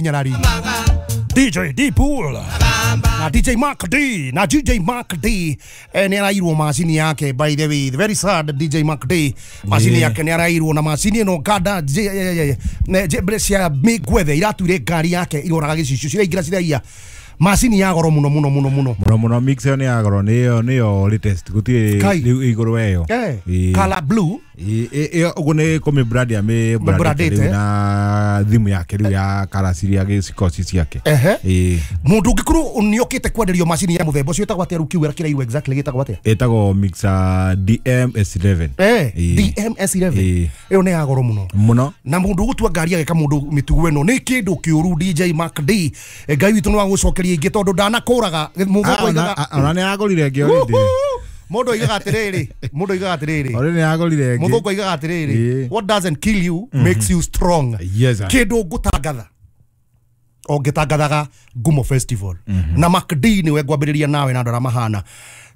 Nyarari DJ D Pool na DJ Mark D na DJ Mark D nĩ arairwo macini yake. By the way, very sad, DJ Mark D macini yake nĩ arairwo na macini ĩno nganda cia mĩngwethe iratuire ngari yake iroraga gĩcicio ciraingĩra ciraiya macini ya goro muno muno muno muno muno muno. Mix ĩyo nĩ ya goro, nĩyo latest, gũtirĩ rĩu igũrũ weyo. Color blue. Ĩyo ũguo nĩ kũmĩ brand ya mĩ brand na thimu yake rĩu ya kara ciria gĩcikoci ciake. Mũndũ ũngĩkorwo nĩokĩte kwenderio macini ya mũthemba ũcio ĩtagwo atĩa rĩu kiuga kĩrairwo exactly gĩtagwo atĩa? Ĩtagwo mixer DMS11. DMS11 ĩyo nĩ ya goro muno muno, na mũndũ ũgũtua ngari ageka mũndũ mĩtugo ĩno nĩ kĩndũ kĩũru. DJ Mark D, Ngai witũ no agũcokeria ingĩ tondũ ndanakũraga mũthũngũ oigaga ona nĩ agũrire ĩngĩ already. Mũndũ oigaga atĩrĩrĩ, mũndũ oigaga atĩrĩrĩ, already nĩ agũrire ĩngĩ. Mũthũngũ oigaga atĩrĩrĩ, what doesn't kill you makes you strong. Kĩndũ ngũtangatha o ngĩtangathaga Ngumo Festival na Mark D nĩwe ngwambĩrĩria nawe na andũ arĩa mahana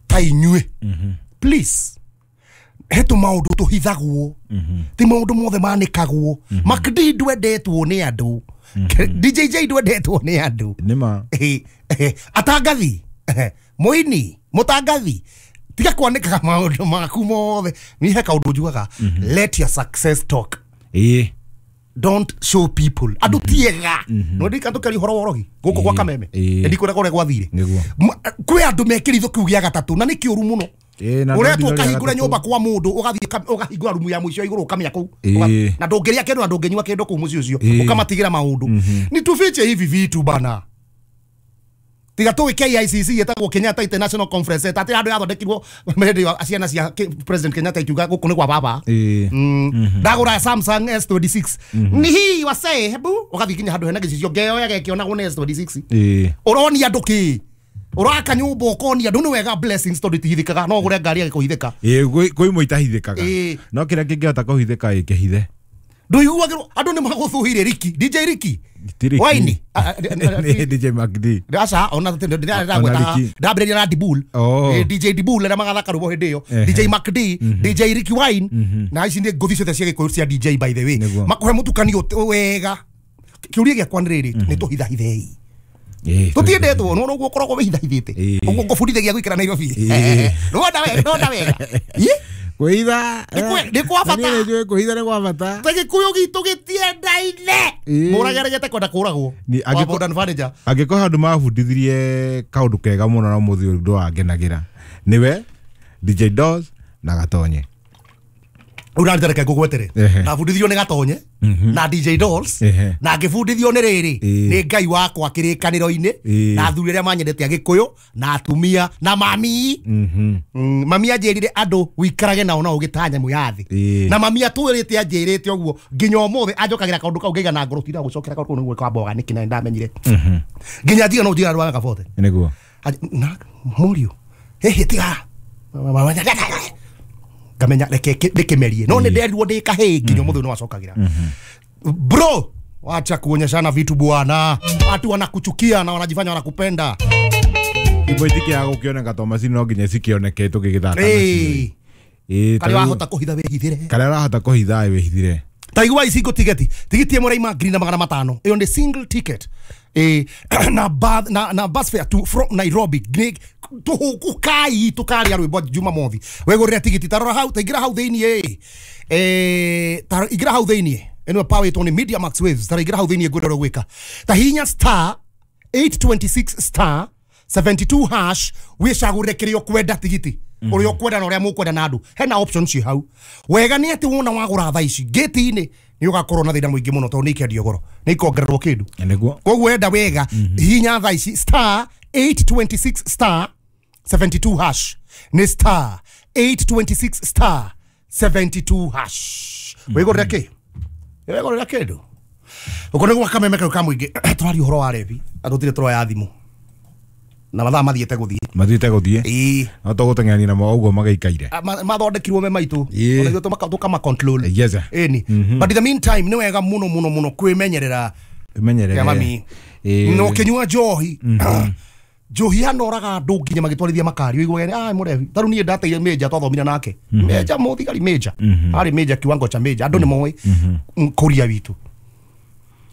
ta inyuĩ, please he tũmaũndũ tũhithagwo, ti maũndũ mothe manĩkagwo. Mark D ndwendetwo nĩ andũ, DJ J ndwendetwo nĩ andũ. Nĩma atangathi mũini mũtangathi tiga kwanĩkaga maũndũ maku mothe. Ni he kaũndũ njugaga, let your success talk. Don't show people andũ tiega no ndika tũkaria ũhoro wa ũrogi gũkũ gwa Kameme ndikwĩra kũrĩa gwathire kwĩ andũ mekĩritho kĩu gĩa gatatũ na nĩ kĩũru mũno. Ũretwo ũkahingũra nyũmba kwa mũndũ ũgathiĩ ũkahingũra rumu ya mũico igũrũ ũkamĩa kũu na ndũngĩrĩa kĩndũ na ndũngĩnyua kĩndũ kũu mũciĩ ũcio ũkamatigĩra maũndũ. Ni tufiche hivi vitu bana. Tiga tũĩ KICC ĩtagwo Kenyatta International Conference Center atĩ handũ yathondekirwo hĩndĩ ciana cia President Kenyatta ikiuga gũkũ nĩ gwa baba. Ndagũra Samsung S26 ni hii wasee, hebu ũgathiĩ nginya handũ hena gĩcicio ngeyoya gekĩonagwo nĩ S26. Ũronia andũ kĩ? Ũraka nyũmba ũkonia andũ nĩ wega blessings tondũ itihithĩkaga, no ũgũre ngari ĩgĩkũhithĩka. Kwĩ imwe itahithĩkaga no kĩrĩa kĩngĩhota kũhithĩka ĩkĩhithe. Ndũiguagĩrwo andũ nĩ magũthũire Ricky, DJ Ricky Waini DJ Mark D aca ona ndambĩrĩria na Dibul, DJ Dibul arĩa magathaka rwĩmbo hĩndĩ ĩyo, DJ Mark D, DJ Ricky Wine na ici nĩ ngũthi ciothe cia Gĩkũyũ cia DJ by the way makũhe mũtukanio wega. Kĩũria gĩakwa nĩ rĩrĩ, nĩ tũhithahithei tũtiendetwo no ũguo ũkoragwo wĩhithahithĩte ũguo ngũbundithagia gũikara Nairobi nĩwona wega, nĩwona wega kwĩhitha nĩ kwa bata, kwĩhitha nĩ kwa bata. Ta Gĩkũyũ gitũ gĩtiendaine, mũrageregete kwenda kũragwo wa modern furniture. Angĩkorwo handũ mabundithirie kaũndũ kega mũno na mũthĩ ũndũ wangenagĩra nĩwe DJ Dolls na Gatonye. Ũrarita reke ngũgwetere, ndabundithirio nĩ Gatonye na DJ Dolls na ngĩbundithio nĩ rĩrĩ nĩ Ngai wakwa kĩrĩkanĩro-inĩ na athuri arĩa manyendete a Gĩkũyũ na atumia na mami. Mami anjĩrire andũ wĩikarage nao na ũgĩta nyamũ ya thĩ, na mami atwĩrĩte anjĩrĩte ũguo nginya ũmũthĩ anjokagĩra kaũndũ kau ngaiga na ngoro tira gũcokera kaũndũ kau nĩguo kwamba nĩkĩ na ndamenyire nginya njiga no njiga rwa gabote nĩguo na mũriũ hihi tiga ngamenya reke ndĩkĩmerie no nĩ nderirwo ndĩ kahĩĩ nginya ũmũthĩ nĩ wacokagĩra. Bro, wacha kuonyeshana vitu bwana, watu wanakuchukia na wanajifanya wanakupenda. Imwe itikĩaga gũkĩoneka to macini no nginya cikĩoneke tũgĩgĩthaka nacio. Karĩa wahota kũhitha wĩhithĩre, karĩa ũrahota kũhitha wĩhithĩre. Ta igua ici tigeti tigiti ĩmwe raima 1,500 ĩyo nĩ single ticket na bus fare to from Nairobi tũhũkũkai tũkaria rwĩmbo Jumamothi wegũrĩra tigiti tarora hau taingĩra hau thĩiniĩ ta ingĩra hau thĩiniĩ ĩno power ĩtwo nĩ Media Max Waves tara ingĩra hau thĩiniĩ ngwĩra ũrĩa ũgwĩka ta hinya star 826 star 72 hash wĩcagũrĩre kĩrĩa ũkwenda tigiti ũrĩa ũkwenda na ũrĩa mũkwenda na andũ hena option ci hau wega nĩ atĩ wona wagũra thaa ici gate-inĩ nĩ ũgakorwo na thĩna mũingĩ mũno tondũ nĩ ikendio goro nĩ ikongererwo kĩndũ nĩguo. Koguo enda wega hinya thaa ici star 826 star 72 hash nĩ star 826 star 72 hash wĩgũrĩra kĩ wĩgũrĩra kĩndũ ũko nĩ gwa Kameme kau ka mũingĩ tũraria ũhoro wa rebi andũ tũtirĩ tũroya thimũ na mathaa mathiĩte gũthiĩ ĩĩ no tũgũteng'erania namo ũguo magĩikaire mathondekirwo me maitũ ona ithuĩ tũkama control ĩni. But in the meantime nĩ wega mũno mũno mũno kwĩmenyerera mami no ũkĩnyua njohi njohi yanoraga andũ nginya magĩtwarithia makari ũiguage ah mũrebi tarĩu niĩ ndateire major twathomire nake major mũthigari major arĩ major kiwango cha major andũ nĩ moĩ kũria witũ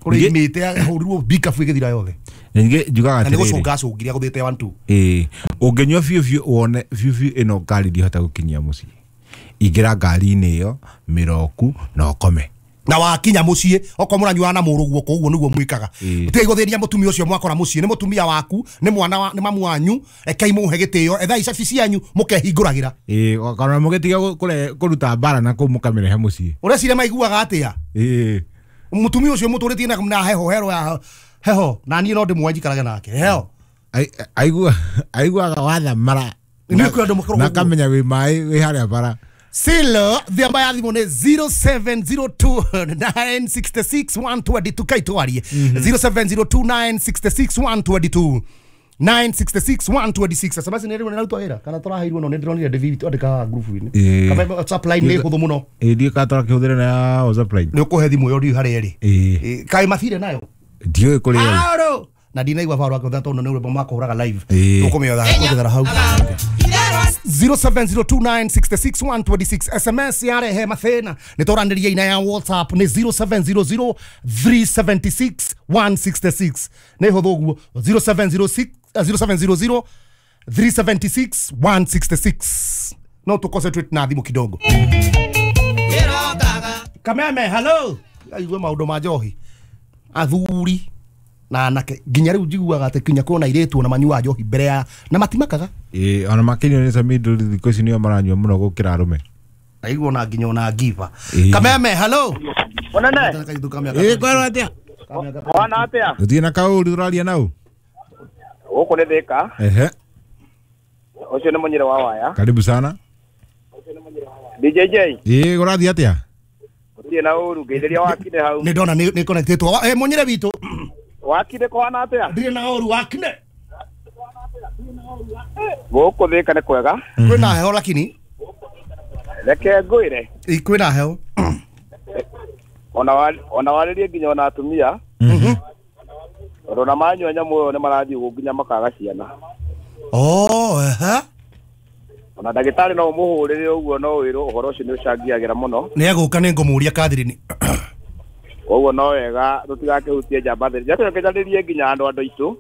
Kũrĩ imĩte ahũrirwo bikabu ĩgĩthira yothe. Ningĩ njugaga Na nĩ atĩrĩrĩ. gũcũnga acũngire agũthĩte 1 2. Ĩĩ, ũngĩnyua biũ biũ wone biũ biũ ĩno ngari ndihota gũkinyia mũciĩ. Ingĩra ngari-inĩ ĩyo mĩroku na ũkome. Na wakinya muciĩ okorwo mũranyuaga na mũrũguo koguo nĩguo mwĩkaga. Tigai gũthĩnia mũtumia ũcio mwakora mũciĩ, nĩ mũtumia waku, nĩ mwana wa, nĩ mamu wanyu, rekei mũhe gĩtĩo, ethai cabi cianyu mũkehingũragĩra. Ĩĩ, kana mũgĩtiga kũruta mbara na kũu mũkamĩrehe mũciĩ. Ũreciria maiguaga atĩa? Ĩĩ. Mũtumia ũcio mũtũrĩtie na heho hero ya heho, na niĩ no ndĩmuoe njikarage nake heho. Aiguaga wathamara. Nĩ kwĩ andũ makoragwo Na kamenya wĩ maĩ wĩ harĩa bara. Silo thiamba ya thimũ nĩ 0702966122 kai twarie 0702966122 966126 SMS nĩ rĩu nĩrarutwo wĩra kana tũraheirwo no nĩ ndĩronire David twandĩkaga group-inĩ. Kaba WhatsApp line nĩ hũthũ mũno. Ĩĩ, ndiũĩ kana tũrakĩhũthĩra na ya WhatsApp line. Nĩ ũkũhe thimũ ĩyo ndiũĩ harĩa ĩrĩ. Ĩĩ. Kaĩ mathire nayo? Ndiũĩ kũrĩa ĩrĩ. Aro! Na ndinaigua baro akĩhũthĩra tondũ nĩ rwĩmbo makũhũraga live. Ĩĩ. Tũkũmĩotha kũjethera hau. 0702966126 SMS yarehe mathĩna nĩ tũranĩria ina ya WhatsApp nĩ 0700376166 nĩ hũthũ ũguo 0706 0700 376166 no tũ concentrate na thimũ kidogo. Kameme, hello. Aigue maũndũ ma njohi athuri na anake nginya rĩu njiguaga atĩ kinya kuona airĩtu ona manyuaga njohi mbere ya na matimakaga. Ĩĩ, ona makĩria nĩ Samido thikũ ici nĩo maranyua mũno gũkĩra arũme. Aigua ona nginya ona ngiba. Kameme, hello. Mũnene. Ĩĩ, kwerwo atĩa? Wana atĩa? Gũtirĩ na kaũru tũraria nau. Gũkũ nĩ Thĩka. Ehe. Ũcio nĩ mũnyĩre wa waya. Karibu sana. DJJ. Ĩĩ, ũrathiĩ atĩa? Gũtirĩ na ũru, ngeithĩria wakine hau. Nĩ ndona nĩ connected. Mũnyĩre witũ. Wakine kũhana atĩa? Ndirĩ na ũru wakine. Gũkũ Thĩka nĩ kwega. Kwĩna heho lakini. Reke ngwĩre. Kwĩna heho. Ona warĩrie nginya ona atumia. Tondũ ona manyua nyamũ ĩyo nĩ marathiĩ ũguo nginya makaga ciana. Oh, ehe. Ona ndagĩtarĩ no ũmũhũrĩre ũguo no wĩrwo ũhoro ũcio nĩ ũcangĩagĩra mũno. Nĩ egũka nĩ ngũmũria Catherine. Koguo no wega tũtigakĩhutie njamba theri. Njakĩnjarĩrie nginya andũ aitũ.